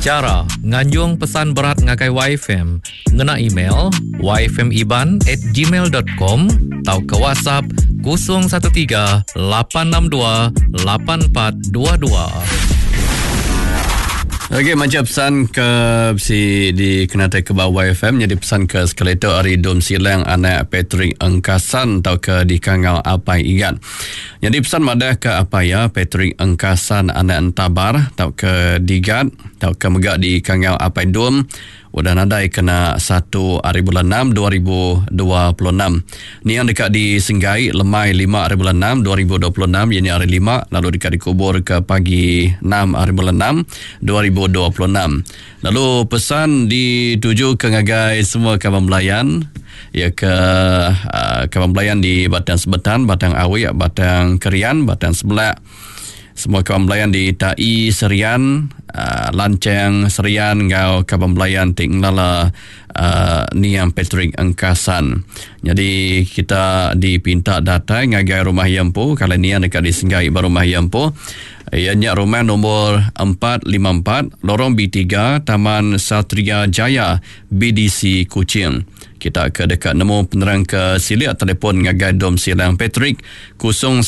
Chara nganjung pesan berat ngagai YFM ngena email yfmiban at gmail dot com tauka WhatsApp 013 862 8422. Okey macha pesan ke bisi dikenatai ke ba YFM nyadi pesan ke sekali tu ari Dom Silang anak Patrick Engkasan tauka dikangau Apai Igat. Nyadi pesan madah ke apai iya Patrick Engkasan anak Entabar tauka Digat tauka mega dikangau Apai Dom udah nadai kena satu ari bulan enam 2026. Niang deka disenggai lemai lima ari bulan enam 2026 iya nya hari lima lalu deka dikubur ke pagi enam ari bulan enam 2026. Lalu pesan dituju ke ngagai semua kaban belayan iya ke uh, kaban belayan di Batang Sebetan, Batang Awik, Batang Kerian, Batang Sebelak, Semua kaban belayan di Tai Serian, uh, Lancheng Serian enggau kaban belayan ti ngelala uh, Niang Patrick Engkasan. Jadi kita dipinta datai ngagai rumah iya empu, kala Niang deka disenggai ba rumah iya empu. Iya nya rumah nombor 454 Lorong B3 Taman Satria Jaya BDC Kuching. Kita ke deka nemu penerang ke silik telefon ngagai Dom Silang Patrick 012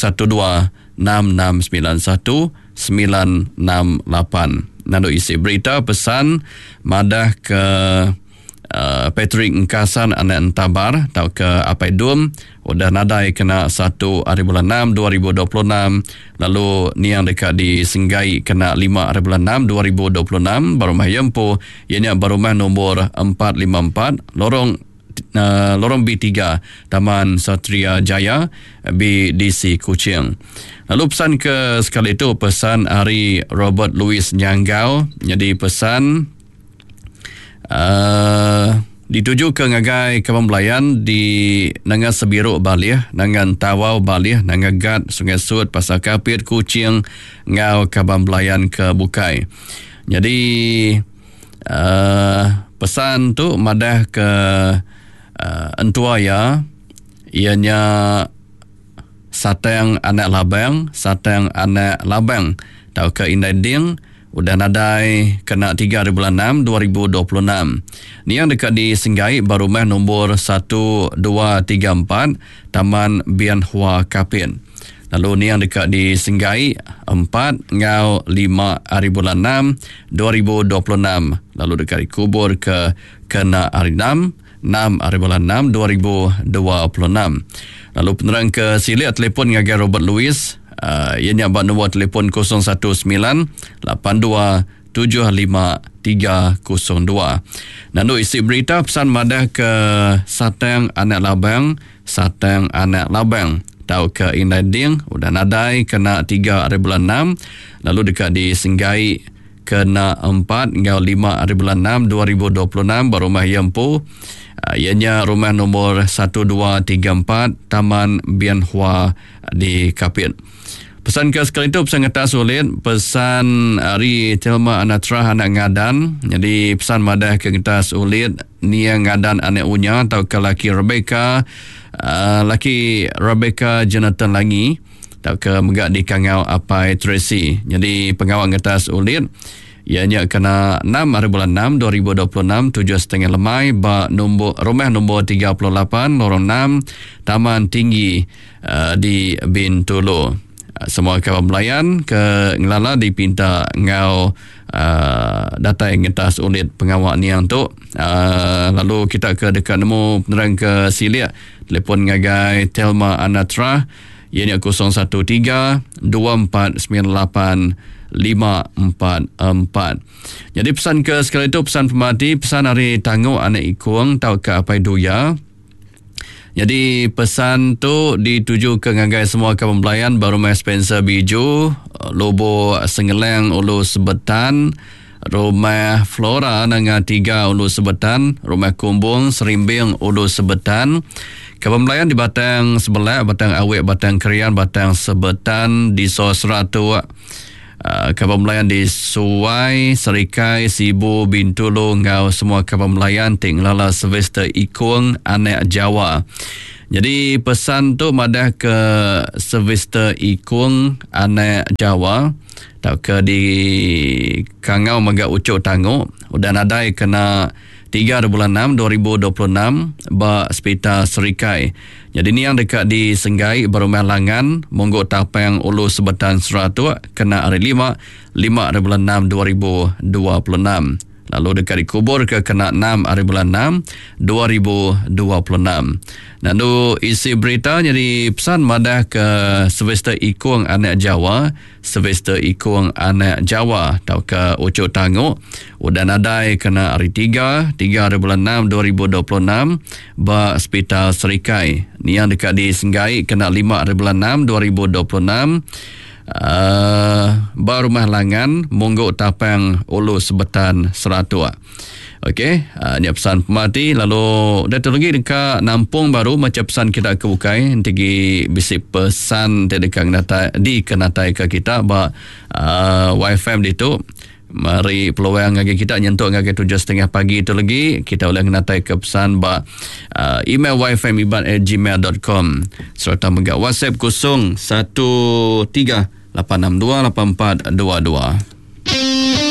6691 968. Nandu isi berita pesan madah ke uh, Patrick Engkasan anak Entabar tauka Apai Dum udah nadai kena 1 hari bulan 6 2026 lalu niang deka disenggai kena 5 hari bulan 6 2026 ba rumah iya empu iya nya ba rumah nombor 454 Lorong Lorong B3 Taman Satria Jaya BDC Kuching. Lalu pesan ke sekali itu pesan ari Robert Louis Nyanggau nyadi pesan uh, dituju ke ngagai kaban belayan di Nanga Sebiru Balih, Nanga Entawau Balih, Nanga Gat, Sungai Sut, Pasar Kapit, Kuching enggau kaban belayan ke bukai. Nyadi Uh, pesan tu madah ke uh, entua iya iya nya Satang anak Labang, Satang anak Labang tauka Indai Ding udah nadai kena 3 hari bulan 6 2026. Niang deka disenggai ba rumah nombor 1234 Taman Bian Hua Kapit. Lalu niang deka disenggai empat enggau lima hari bulan enam 2026 lalu deka dikubur ke kena hari enam, enam hari bulan enam 2026. Lalu penerang ke silik telefon ngagai Robert Louis uh, iya nya ba nombor telefon 019 82 75302. Nandu isi berita pesan madah ke Satang anak Labang, Satang anak Labang tauka Indai Ding udah nadai kena 3 hari bulan 6 lalu deka disenggai kena 4 enggau 5 hari bulan 6 2026 ba rumah iya empu ah, iya nya rumah nombor 1234 Taman Bian Hua di Kapit. Pesan ke sekali tu pesan ngetas ulit pesan ari Thelma Anatrah anak Ngadan jadi pesan madah ke ngetas ulit nia Ngadan anak Unya tauka laki Rebecca uh, laki Rebecca Jonathan Langi tauka mega dikangau Apai Tracy jadi pengawa ngetas ulit Iya nya kena enam hari bulan enam 2026 tujuh setengah lemai ba nombor rumah nombor 38 lorong 6 Taman Tinggi uh, di Bintulu. Uh, semua kaban belayan ke ngelala dipinta enggau uh, datai ngetas ulit pengawa niang tu. Uh, lalu kita ke deka nemu penerang ke silik telefon ngagai Thelma Anatra iya nya 013 2498 544. Jadi pesan ke sekali tu pesan pemati pesan ari Tanguk anak Ikung tauka Apai Duya. Jadi pesan tu dituju ke ngagai semua kaban belayan ba rumah Spencer Biju, Lubok Sengelang Ulu Sebetan, Rumah Flora Nanga Tiga Ulu Sebetan, Rumah Kumbung Serimbing Ulu Sebetan, Kaban belayan di Batang Sebelak, Batang Awik, Batang Krian, Batang Sebetan, Diso Seratuk, Uh, kaban belayan di Suai, Serikai, Sibu, Bintulu enggau semua kaban belayan ti ngelala Sylvester Ikung anak Jawa. Jadi pesan tu madah ke Sylvester Ikung anak Jawa. tauka di kangau mega Uchu Tangu udah nadai kena tiga bulan enam 2026 ba Sepital Serikai. Nyadi niang deka disenggai ba Rumah Langan, Munggu Tapang Ulu Sebetan Seratok kena hari lima, lima bulan enam 2026. Lalu deka dikuburka kena enam hari bulan enam 2026. Lalu isi berita nyadi pesan madah ke Sylvester Ikung anak Jawa, Sylvester Ikung anak Jawa tauka Uchu Tangu udah nadai kena hari tiga, tiga hari bulan enam 2026 ba Sepital Serikai. Niang deka disenggai kena lima hari bulan enam 2026 ba Rumah Langan, Munggu Tapang, Ulu Sebetan, Seratok. Okey, nya pesan pemati lalu datu lagi deka nampung baru macha pesan kita ke bukai enti gi bisi pesan ti deka ngenatai dikenatai ke kita ba uh, YFM ditu meri peluang ngagai kita nyentuk ngagai 7.30 pagi tu lagi kita boleh ngenatai ke pesan ba uh, email yfmiban@gmail.com serta mega WhatsApp 013 862 8422.